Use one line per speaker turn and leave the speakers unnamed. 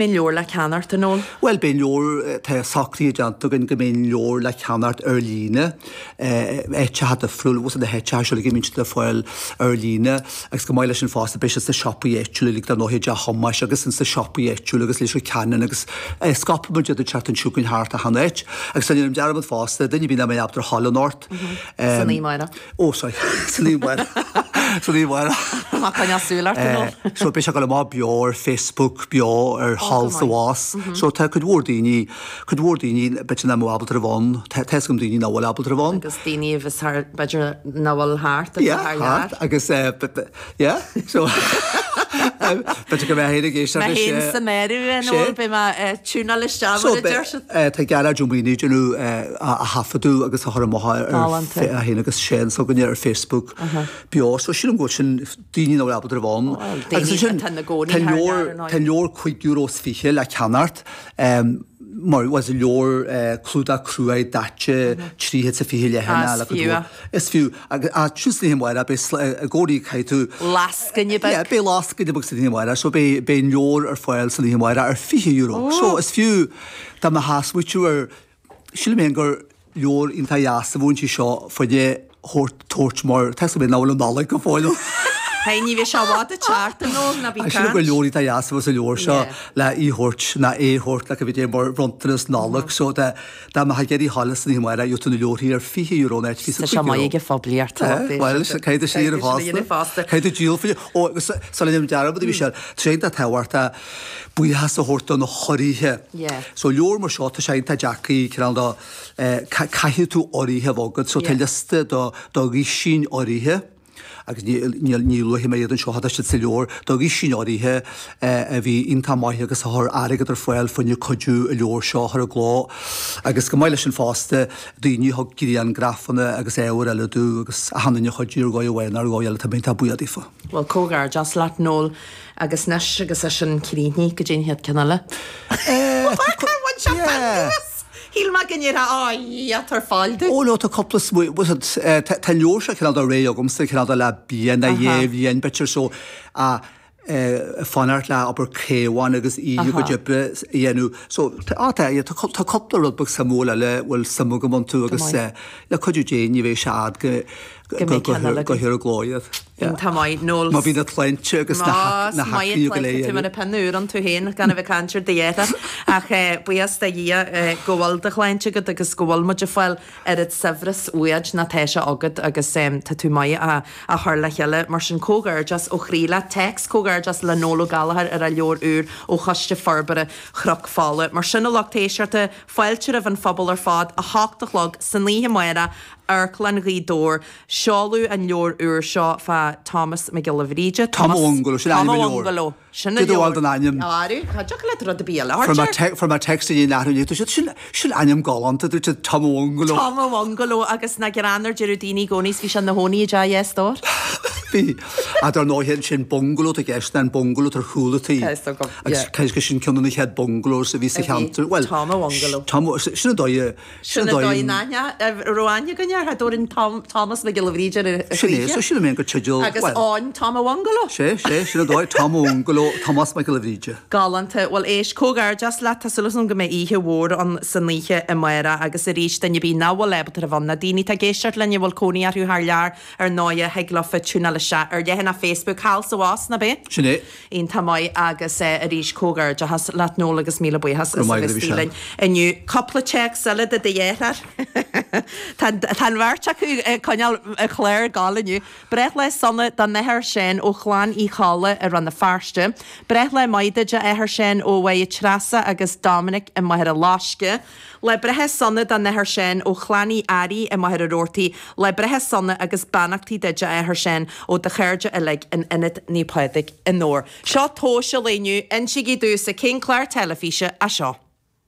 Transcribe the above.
Beidh an leabhar le ceannacht, a Noel?
Bhuel, beidh an leabhar, tá socruithe déanta againn go mbeidh an leabhar le ceannacht ar líne, áiteacha difriúil, bhfuil na háiteacha seo uilig a mbíonn siad le fáil ar líne agus chomh maith leis sin fosta beidh siad sna siopaí áitiúla uilig dar ndóigh i dTeach Thomáis agus ins na siopaí áitiúla agus Leitir Ceanainn agus scaipfidh muid iad an tseachtain seo chugainn thart achan áit. Agus ná déan dearmad fosta, duine ar bith nach mbeidh ábalta a ghabháil anocht,
San oíche amárach.
Ó, sorry. San oíche amárach. San oíche amárach.
Má coinneáil súil ort a Noel.
So beidh sé ag dul amach beo ar Facebook, beo ar Thall 's Abhus. So tá cuid mhór daoine, cuid mhór daoine b'fhéidir nach mbeadh ábalta a bheith ann. Tá fhios agam daoine nach bhfuil ábalta a bheith ann.
Agus daoine a bheas thar, b'fhéidir nach bhfuil thart agus
Yeah,
thar lear.
thart agus yeah, so b'fhéidir go mbeidh féin ag éisteacht
Mé
leis.
féin san áireamh a Noel, beidh mé ag tiúnáil isteach
So
mar a deir siad.
tá Gearóid Ó Maonaigh ag déanamh a thaifeadadh agus a chur amach ar
Galánta.
é féin agus Séan s'againne ar Facebook beo. So sílim go bhfuil sin daoine nach bhfuil ábalta a bheith ann.
Bhuel,
Agus
daoine
ansin
atá ina gcónaí
tá
thar lear,
leabhar
ar ndóigh.
tá leabhar €5.20 le ceannacht mar was leabhar clúdach cruaidh daite 320 leathanach
Ah,
le
is
cuid
fiú
mhór.
é.
Is fiú. Agus sin san oíche amárach beidh i gcónaí caithfidh tú.
Lascaine beag.
Yeah, beidh lascaine beag san oíche amárach so beidh beidh an leabhar ar fáil san oíche amárach ar €20. So is fiú dá mbeifeá ag smaoitiú ar sílim féin gur leabhar iontach dheas a bheadh inti seo fá choinne thabhairt tabhairt mar tá a fhios agam nach bhfuil an Nollaig go fóill ann.
Hey, ní bheidh sé i bhfad ag teacht a Noel, ná bí
Sílim
caint.
gur leabhar iontach dheas a bheadh sa leabhar seo
Yeah.
le í thabhairt ná é thabhairt le go bhfidé mar bhronntanas Nollag so dá Dá mbeifeá ag iarraidh a ghabháil san oíche amárach gheobhaidh tú na leabharthaí ar €20 in áit
Tá sé maith
€25.
ag an phoiblíocht
Eh, bhuel, caithfidh tú sin a dhéanamh fosta. Caithfidh tú díol faoi. Ó, agus sula ndéanaim dearmad, a Mhichelle, tá sé iontach tábhachtach buíochas a thabhairt do na hurraithe.
Yeah.
So leabhar mar seo, tá sé iontach deacair, cineál de, eh, caithfidh tú urraithe a bheith agat. So tá liosta do do dhúisín urraithe. agus ní luafaidh mé iad anseo, tá siad sa leabhar, do dhaoine áirithe a bhí iontach maith agus a chuir airgead ar fáil fá choinne cuidiú an leabhar seo a chur i gcló agus chomh maith leis sin fosta daoine a thug griangrafanna agus ábhair eile domh agus achan duine a chuidigh ar dhóigh amháin nó ar dhóigh eile tá mé iontach buíoch daofa.
Bhuel, comhghairdeas leat Noel agus anois agus é sin críochnaithe go dtí an chéad ceann eile. Cár bhain sé taitneamh as? Shíl mé go ndéarfá, Á, Dhia, tabhair fáil domh.
Ó no, tá cúpla smaoineamh, bhfuil a fhios agat, tá an leabhar seo cineál de réidh agamsa, cineál de le bliain nó dhá bhliain b'fhéidir so fanacht le obair Caomhán agus í a gcuid oibre a dhéanamh. So tá, tá, yeah, tá cúpla rud beag suimiúil eile a bhfuil suim agam iontu agus le cuidiú Dé ní bheidh sé fhad go
Go mbeidh ceann eile
go hir i gcló iad.
Iontach maith, Noel.
Má bhí na clainte agus na
Más maith
haclaí go léir.
Tú mar a pinn úr iontu féin, gan a bheith ag caint ar do dheartháir. Ach buíochas do Dhia go bhfuil do shláinte agat agus go bhfuil muid ag fáil oiread saibhreas uait ná tá sé agat agus tá tú maith á chur le chéile. Mar sin comhghairdeas ó chroí leat. Téacs comhghairdeas le Noel Ó Gallchóir ar a leabhar úr ó Choiste Forbartha Chnoc Fola. Mar sin a lucht éisteachta, fáilte roimh an phobal ar fad, 8 a chlog san oíche amárach, Amharclann Ghaoth Dobhair. Seoladh an leabhar úr seo fá Thomas Mac Giolla Bhríde.
Tom Bhungaló, sin
Tom
ainm an leabhair.
Bhungaló, sin an
Cé do
leabhar.
bhfuil den ainm?
Arú, cha dtiocfadh leat rud ar bith eile a
Fuair mé
thabhairt air.
fuair mé text inné nach raibh siad, sin, sin ainm galánta, dúirt siad Tom Bhungaló.
Tom Bhungaló agus nach greann ar deireadh daoine i gcónaí 's bhí sé ina chónaí i dteach dheas Dobhair.
Bhí. Ach dar ndóighe ansin bungalow atá i gceist ná an bungalow atá ar chúl an tí.
Tá fhios agam,
Agus
yeah.
cé gur sin ceann de na chéad bungalows a bhí sa
A bhí.
cheantar. Bhuel,
Tom Bhungaló.
Tom, sin an dóigh a,
Sin an dóigh in aithne, a raibh aithne againn air, dtabharfainn Tom, Thomas Mac Giolla Bhríde ar a
Sin é,
choíche.
so sílim é gur teideal,
Agus
bhuel.
Eoin Tom a Bhungaló.
Sé, sé, sin an dóigh, Tom a Bhungaló, Tomás Mac Giolla Bhríde.
Galánta. Bhuel, éist, comhghairdeas leat, tá súil agam go mbeidh oíche mhór ann san oíche amárach agus arís, duine ar bith nach bhfuil ábalta a bheith ann, na daoine atá ag éisteacht linn a bhfuil cónaí orthu thar lear, ar ndóighe, thig leofa tiúnáil isteach ar leathanach Facebook Thall 's Abhus, ná b'é?
Sin é.
Iontach maith agus arís comhghairdeachas leat Noel agus míle buíochas
Go
as a
raibh maith
bheith
agat a
istigh
Mhichelle.
linn inniu. Cúpla téacs eile do do dheartháir. Tá tá an bheirt acu ag coinneáil an chláir ag gabháil inniu. Breithlá sona don Athair Seán ó Chlann Uí Cholla i Rann na Feirste. Breithlá maith duit a Athair Seán ó Mháire Treasa agus Dominic i Machaire Loisce. Lá breithe sona don Athair Seán ó Chlann Uí Fhearraigh i Machaire Rabhartaigh, Lá breithe sona agus beannachtaí duit a Athair Seán ó do chairde uilig in Ionad Naomh Pádraig i nDobhar. Seo tomhas an lae inniu, insígí domhsa cén clár teilifíse é seo?